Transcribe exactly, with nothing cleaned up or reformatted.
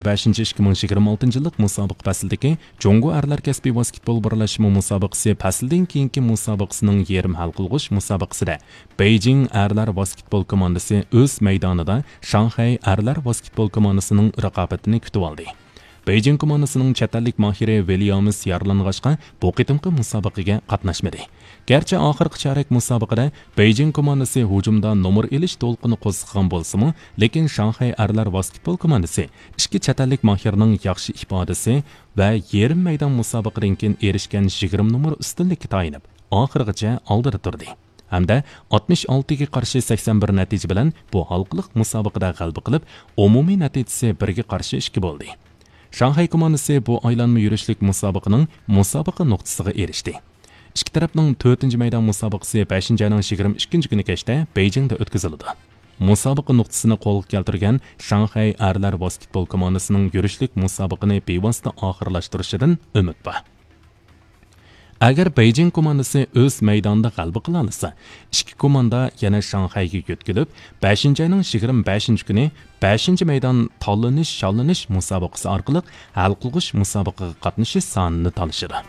بەشىنچى ئىككى مىڭ يىگىرمە ئالتىنچى يىللىق مۇسابىقە پەسلىدىكى جۇڭگو ئەرلەر كەسپىي ۋاسكېتبول بىرلەشمە مۇسابىقىسى پەسلىدىن كېيىنكى مۇسابىقىسىنىڭ يېرىم ھەل قىلغۇچ مۇسابىقىسىدە بېيجىڭ ئەرلەر ۋاسكېتبول كوماندىسى ئۆز مەيدانىدا شاڭخەي ئەرلەر ۋاسكېتبول كوماندىسىنىڭ رىقابىتىنى كۈتۈۋالدى. بېيجىڭ كوماندىسىنىڭ چەت ئەللىك ماھىرى ۋىليامس يارىلانغاچقا، بۇ قېتىمقى مۇسابىقىگە قاتناشمىدى. گەرچە ئاخىرقى چارەك مۇسابىقىدە بېيجىڭ كوماندىسى ھۇجۇمدا نومۇر ئېلىش دولقۇنى قوزغىغان بولسىمۇ، لېكىن شاڭخەي ئەرلەر ۋاسكېتبول كوماندىسى ئىككى چەت ئەللىك ماھىرنىڭ ياخشى ئىپادىسى ۋە يېرىم مەيدان مۇسابىقىدىن كېيىن ئېرىشكەن يىگىرمە نومۇر ئۈستۈنلۈككە تايىنىپ، ئاخىرغىچە ئالدىدا تۇردى ھەمدە ئاتمىش ئالتىگە قارشى سەكسەن بىر نەتىجە بىلەن بۇ ھالقىلىق مۇسابىقىدە غەلىبە قىلىپ، ئومۇمىي نەتىجىسى بىرگە قارشى ئىككى بولدى. شاڭخەي كوماندىسى بۇ ئايلانما يۈرۈشلۈك مۇسابىقىنىڭ مۇسابىقە نۇقتىسىغا ئېرىشتى. ئىككى تەرەپنىڭ تۆتىنچى مەيدان مۇسابىقىسى بەشىنچى ئاينىڭ يىگىرمە ئىككىنچى كۈنى كەچتە بېيجىڭدا ئۆتكۈزۈلىدۇ. مۇسابىقە نۇقتىسىنى قولغا كەلتۈرگەن شاڭخەي ئەرلەر ۋاسكېتبول كوماندىسىنىڭ يۈرۈشلۈك مۇسابىقىنى بىۋاسىتە ئاخىرلاشتۇرۇشىدىن ئۈمىد بار. ئەگەر بېيجىڭ كوماندىسى ئۆز مەيدانىدا غەلىبە قىلالىسا، ئىككى كوماندا يەنە شاڭخەيگە يۆتكىلىپ، بەشىنچى ئاينىڭ يىگىرمە بەشىنچى كۈنى بەشىنچى مەيدان تاللىنىش-شاللىنىش مۇسابىقىسى ئارقىلىق ھەل قىلغۇچ مۇسابىقىگە قاتنىشىش سانىنى تالىشىدۇ.